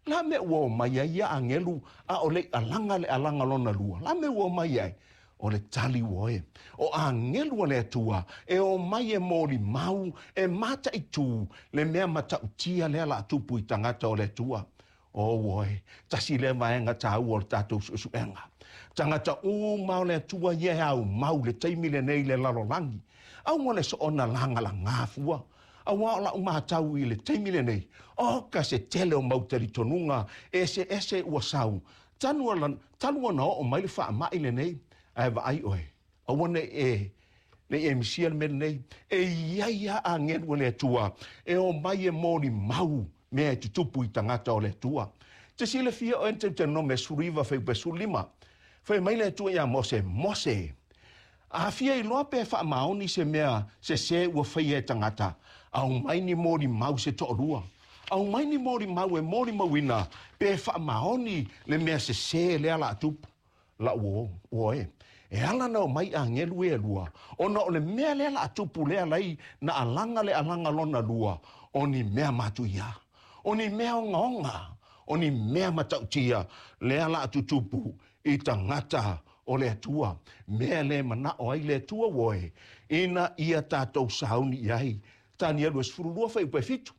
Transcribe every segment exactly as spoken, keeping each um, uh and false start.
La mea ua o mai ai ia agelu a o le alaga le alaga lona lua? La mea ua o mai ai? O le tali ua e. O agelu a le Atua e o mai e moli mau, e mata i tū, le mea matautia lea la tupu i tangata o le Atua. O ua e, tasi le vaega tāua o le tātou suesuega. Tagata uma o le Atua ia e au mau le taimi lenei le lalolagi. Aua le soona lagalagā fua. Auā o la'u matau i le taimi lenei, o ka se tele o mau talitonuga eseese ua sau. Tanu talu ona oo mai le faama'i lenei, ae vaai oe. Aua ne e ne e misia le mea lenei. E iai a agelu o le Atua e o mai e moli mau mea e tutupu i tagata o le Atua. Te silafia oe Teuteronome sefuluiva fuaiupu sefululima. Fai mai le Atua iā Mose, Mose, a fia iloa pe faamaoni se mea sesē ua faia e tagata, aumai ni moli mau se toalua. Aumai ni moli mau e moli mauina pe faamaoni le mea sesē lea la tupu. La ua ua e. E ala na o mai agelu e lua, ona o le mea lea la tupu lea lai na alaga le alaga lona lua, o ni mea matuia. O ni mea ogaoga, o ni mea matautia, lea la tutupu i tagata o le Atua. Mea le manao ai le Atua ua e, ina ia tātou sauni i ai. Tanielu e sefululua fuaiupu e fitu.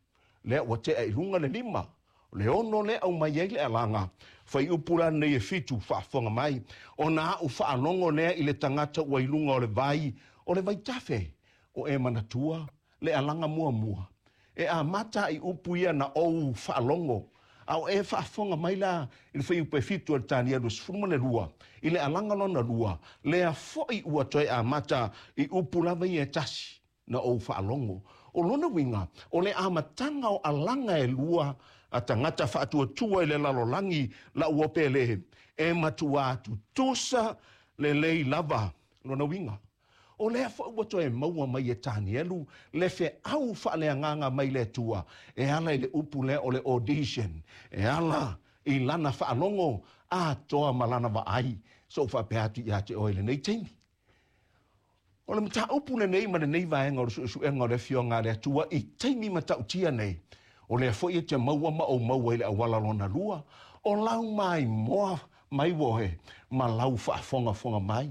Lea ua tea i luga le lima. Le ono le au mai ai le alaga. Fuaiupu la nei e fitu faafofoga mai. Ona a'u faalogo lea i le tagata ua i luga o le vai, o le vaitafe. O e manatua le alaga muamua. E amata i upu ia na ou faalogo. A o e faafofoga mai la i le fuaiupu e fitu o le Tanielu sefulu ma le lua. I le alaga lona lua, lea foi ua toe amata i upu lava ia e tasi na ou faalogo. O lona uiga, o le amataga o alaga e lua a tagata faatuatua i le lalolagi la ua pele, e matuā tutusa lelei lava lona uiga. O lea foi ua toe maua mai e Tanielu le feau faaleagaga mai le Atua e ala i le upu lea o le audition. E ala i lana faalogo atoa ma lana vaai. So faapea atu ia te oe lenei taimi. O le mataupu lenei ma lenei vaega o le suesuega o le afioga a le Atua i taimi matautia nei. O lea foi e te maua ma ou maua i le auala lona lua. O lau maimoa mai woe ma lau faafogafoga mai.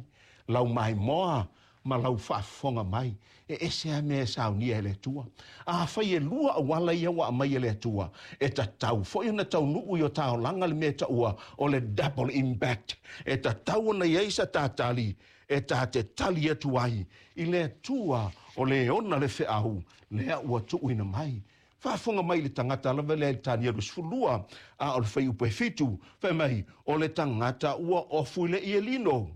Lau maimoa ma lau faafofoga mai. E ese a mea e saunia e le Atua. Afai e lua auala ia ua aumai e le Atua. E tatau foi ona taunuu i o taolaga le mea taua o le double impact. E tatau ona i ai sa tātali e tā te tali atu ai i le Atua o le ona le feau lea ua tuuina mai. Faafofoga mai le tagata lava lea i le Tanielu sefululua, a o le fuaiupu e fitu, fai mai, o le tagata ua ofu i le ielino.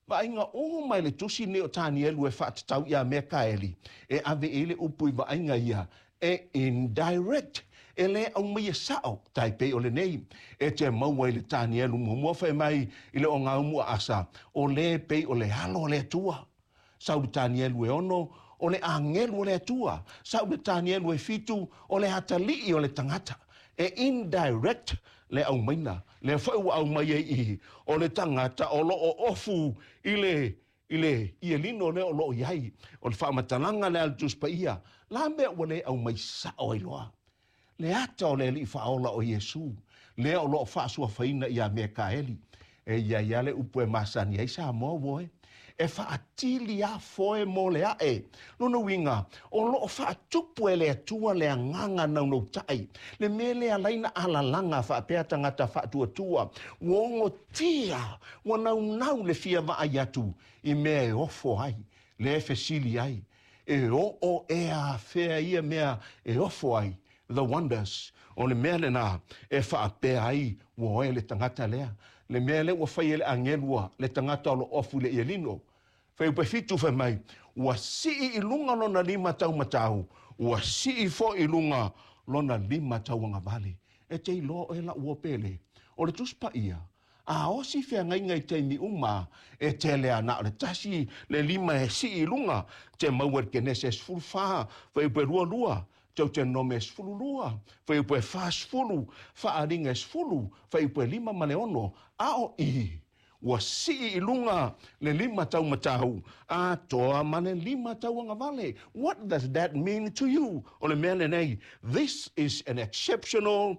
Vaaiga uma i le tusi nei o Tanielu e faatatau ia Mekaeli, e ave i le upu i vaaiga ia, e indirect, e le aumaia sao, tai pei o lenei, e te maua i le Tanielu muamua fai mai i le ogaumu a Asa, o le pei o le alo o le Atua. Sau le Tanielu e ono, o le agelu o le Atua. Sau le Tanielu e fitu, o le atalii o le tagata. E indirect le aumaina. Le foi ua aumai ai i, o le tagata o loo ofu i le i le ielino lea o loo i ai. O le faamatalaga lea a le Tusi Paia. La mea ua le aumai sao ai loa. Le ata o le Alii Faaola o Iesu, lea o loo faasuafaina ia Mekaeli. E ia ia le upu e masani ai Samoa ua e. E faatili a foe mo le ae. Lona uiga, o loo faatupu e le Atua le agaga naunautai. Le mea lea laina alalaga faapea tagata faatuatua. Ua ogotia, ua naunau le fia vaai atu i mea e ofo ai, le e fesili ai. E oo e afea ia mea e ofo ai. The wonders. O le mea lena e faapea ai ua oe le tagata lea. Le mea lea ua fai e le agelua le tagata o lo ofu le ielino. Fuaiupu e fitu fai mai, ua sii i luga lona lima taumatau, ua sii foi i luga lona lima tauagavale. E te iloa oe lau uo pele. O le Tusi Paia, a osi feagaiga i taimi uma, e tele ana o le tasi le lima e sii i luga, te maua i le Kenese sefulufa, fuaiupu e lua lua, Teuteronome sefululua, fuaiupu e fasefulu, Faaaliga e sefulu, fuaiupu e lima ma le ono, a o i, ua sii i luga le lima taumatau, atoa ma le lima tauagavale. What does that mean to you? O le mea lenei, this is an exceptional